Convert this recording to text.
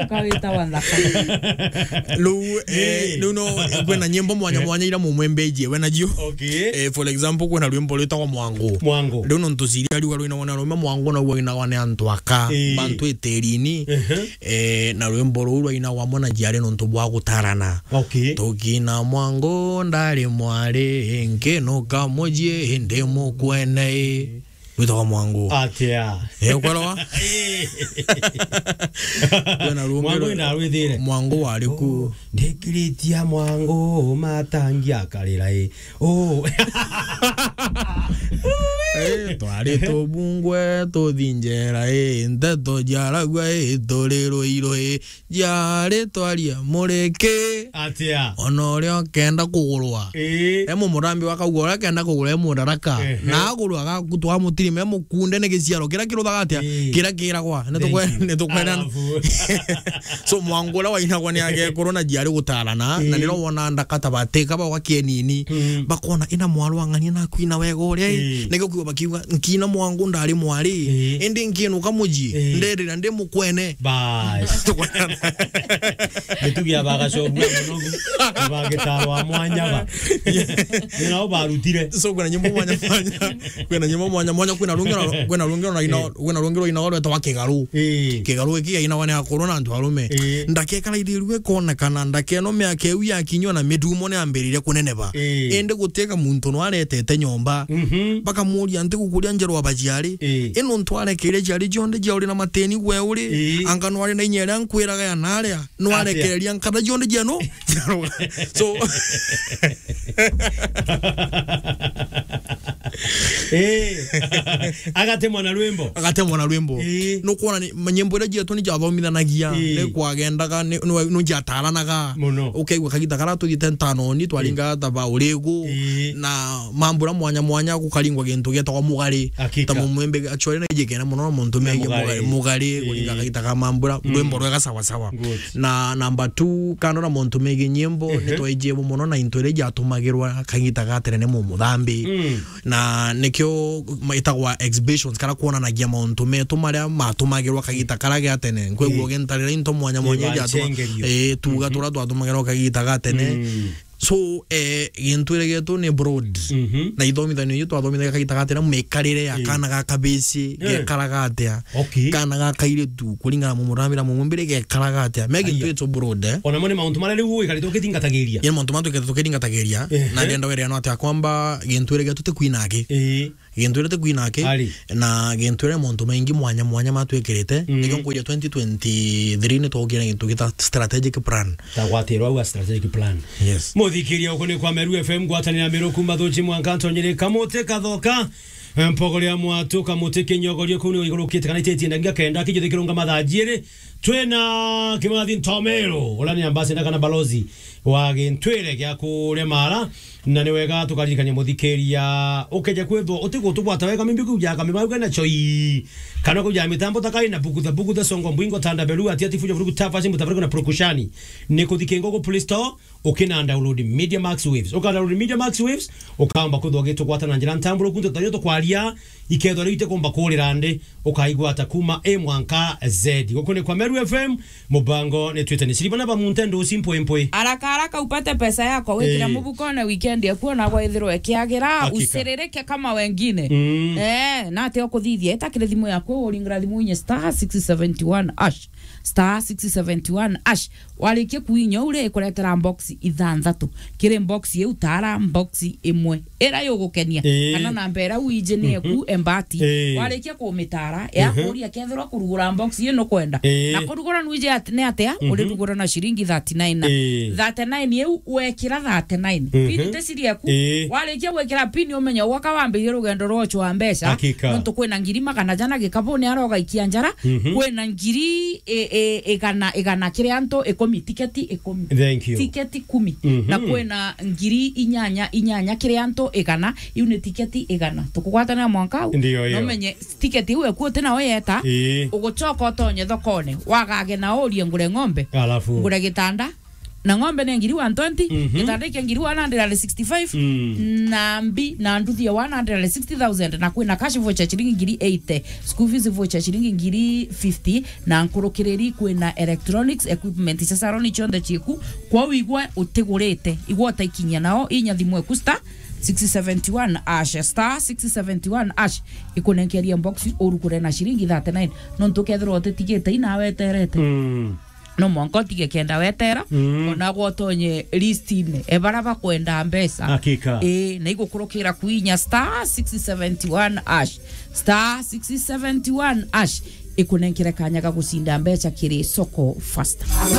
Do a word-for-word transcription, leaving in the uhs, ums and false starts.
Ukawita wa nthaka. Riu, eh, Eh. riu no, kwina nyimbo mwanya Eh. mwanya ira mumwembeji we nacio. Okay. Eh, for example, kwina rwimbo rwitagwa Mwangu. Mwangu. Riu nontu ciria riuga rwina wana rume Mwangu na uwa ina wane antu aka, Eh. bantu itirini. Ehe. Eh, na rwimbo ruu rwainagwa mwana jiari nontu bwa gutarana. Okay. Tukina Mwangu ndari mwari, nkinuka muji ndi mukwene. Witagwa Mwangu. Atia. Eh, ukwelewa? Eh. Kwina rungi Mwangu rwa-, ndarwithire. Mwangu wari ku. Oh, ndikiritia Mwangu matangi akarira i. Oh. Eh, twari tubungwe tuthinjera i, nteto jaragua i, turi ruiru i, jari twaria muriki. Atia. Ona uria ukenda kugurwa. Ii. E mumurambi wakauga uria akenda kugurwa e mudaraka. Ehe. Na agurwa agakutwa mutirime mukunde ni giciaro kiria kiruthaga atia? Ii. Kiria kiragwa. Ni tukwe-, Thank you. Ni tukwena. Alafu. So, Mwangu uria wainagwa ni agekuru na jiari gutarana, na Ii. niro wona ndaka ta batika bauga kienini. Mm. Bakona ina mwarwang'ania na kwina wega uria i. Ii. Nigio kiuga bakiuga, nkina Mwangu ndari mwari. Ii. Indi nkinuka muji. Ii. Nderira ndi mukwene. Bas. Mitugi ya bagacogua munogu, na bagitarwa mwanya ba. Ni nao barutire. So, kwina nyimbo mwanya mwanya. Kwina nyimbo mwanya mwanya, kwina rungi rwa-, kwina rungi rwa ina-, Eh. kwina rungi rwa ina rwetagwa Kigaru. Eh. Kigaru iki yainawa ni akuru na antu arume. Eh. Ndakekara ithirue konekana, ndakeno miaka iu yakinywa na midumo ni ambiririe kuneneba. Eh. Indi gutiga muntu no aretete nyomba. Mhm. Bakamuria, "Nti gukuria njerwa bajiari?" Eh. Ino ntu arekeire jiari jionthe jia uri na mateni gwe uri? Eh. Anga no ari na inya iria nkwiraga ya naria? No Atia. Arekereria nkatha jionthe jia no? So, Eh. Agatemwa na rwimbo. Agatemwa na rwimbo. Eh. Nukwona ni, nyimbo iria jietwa ni jathomithanagia, Eh. ni kwagendaga, ni, ni, ni jataranaga. Muno. Ukaigua kagita kara tuthiite ntanoni, twaringaga ta ba urigu, Eh. na mambura mwanya mwanya gukaringwa gintu gietagwa mugari. Hakika. Ta mumwimbi, actually, na ijikene muno na muntu Na megie mugari. Mugari, mugari, Eh. kuringa kagita ka mambura, Mm. rwimbo rwega sawa sawa. Good. Na number two, kando na montu megie nyimbo, Ehe. ni twaijie bo muno na into iria jatumagirwa kagita ga tene ni mumuthambi. Mm. Na nikio ma-, itagwa exhibitions, kara kwonanagia mauntu metu maria matumagirwa kagita kara ga tene. Nkwigua Eh. ugintarira into mwanya mwanya iria jatuma-, Ibancengerio. Eh, tuga Mhm. turia twatumagirwa kagita ga tene. Mm. So, eh, gintwire gietu ni broad. Mhm. Na ithomithanio iu twathomithagia kagita ga tene, mikarire ya Eh. kana ga kabici, Eh. gekaraga atia? Okay. Kana ga kairitu, kuringana na mumurambira mumumbire gekaraga atia? Me gintu Aya. Itu broad, eh? Ona mo ni mauntu maria riu wikarite ukithingatagiria. Ni mauntu maria twikete tukithingatagiria. Ehe. Na ndenda wire no atia kwamba gintwire gietu ti kwina aki. Ii. Gintu iria ti kwina aki, Ari. Na gintu iria montu maingi mwanya mwanya matwikirite, Mm. nikio nkuria twenty twenty-three ni twokire na gintu gita strategic plan. Ta gwatirwa au a strategic plan. Yes. Muthikiria uku ni kwa Meru F M, ngwatanira Meru kuma Thuchi mwanka ntonyere Kamuti Kathoka, Mpogoria Mwatu, Kamuti Kinyogorio, kuu ni igurukite kana ititie ndangia kenda, kijuthi kirunga mathaa jiiri. Twina Kimathi Ntomero, uria ni ambassador kana balozi wa gintwire gia kuria Mara. Na ni wega tukaririkania muthikiria, ukeja kwithwa utigutugwata wega, mimbi kuja kamimau kana choi, kana kuja mitambo ta kaina bugutha bugutha songo mbwingo tanda beru ati ati fujo vurugu tafa simu tafaruku na prokushani. Ni kuthikinga ugu Play Store, ukina download Media Max Waves. Uka download Media Max Waves, ukaomba kwithwa ugitugwata na njira ntamburu kuntu tanyo tukwaria, ikethwa riu itikumba kurira ndi, ukaigwata kuma A mwanka Z. Guku ni kwa Meru F M, mubango ni twite ni Shiribana ba Munte Ndusi Mpwempwe. Haraka haraka upate pesa yako, wikira Eh. mubukone weekend yaku, ona gwaithirwa ikiagira, Hakika. Usiririke kama wengine. Mm. Eh, na ati ukuthithia, ita kiri thimu yaku, uringira thimu inye star six seventy one hash. Star six seventy one hash. Warikia kuinya u ri, ikuretera box ithanthatu. Kiri box iu, tara box imwe iria yugukenia. Ii. Kana namba iria uiji ni eku, Mhm. Embati. Ii. Warikia kumitara, Ehe. yakuria kethirwa kurugura box iu nukwenda. Ii. Na kurugura nwiji at-, ni atia? Mhm. Urirugura na ciringi thirty nine. Ii. Thirty nine iu wekira thirty nine. Mhm. Pin ti ciri eku. Ii. Warikia gwikira pin, umenya gwaka wambirie rugendo rwa ucwa mbeca. Hakika. Nontu kwina ngiri magana jana gikabuni aria ugaikia njara. Mhm. Kwina ngiri i-, i-, igana, igana kiri antu ikumi, tiketi ikumi. Thank you. Tiketi kumi. Mhm. Na kwina ngiri inyanya, inyanya kiri antu igana, iu ni tiketi igana. Tukugwatanira mwanka au. Ndio hiyo. Na umenye tiketi iu eku uti nayo yeta, Ii. ugucoka utonye thokone, wagage na urie ngure ng'ombe, Alafu. ngure gitanda, Na ng'ombe ni ngiri one twenty, mhm, gitanda kia ngiri one hundred and sixty-five, mm, na mbi na nduthi ya one hundred and sixty thousand, na kwina cash voucher ciringi ngiri eighty, school fees voucher ciringi ngiri fifty, na nkurukiriri kwina electronics equipment cia salon cionthe cieku. Kwou igwe utigurite, igwe utaikinyia nao, inya thimu eku star six seventy one hash, star six seventy one hash, ikunenkeria box urukure na ciringi thirty-nine. Nontu ukethirwa utitigite inaweterete. Mm. No mwanka utige kenda wetera, mm, ona gwotonye list-ini, e bara bakwenda mbeca. Hakika. Ii, na igukurukira kuinya star six seventy one hash, star six seventy one hash, ikunenkere kanya ga gucinda mbeca kiri Soko Fasta.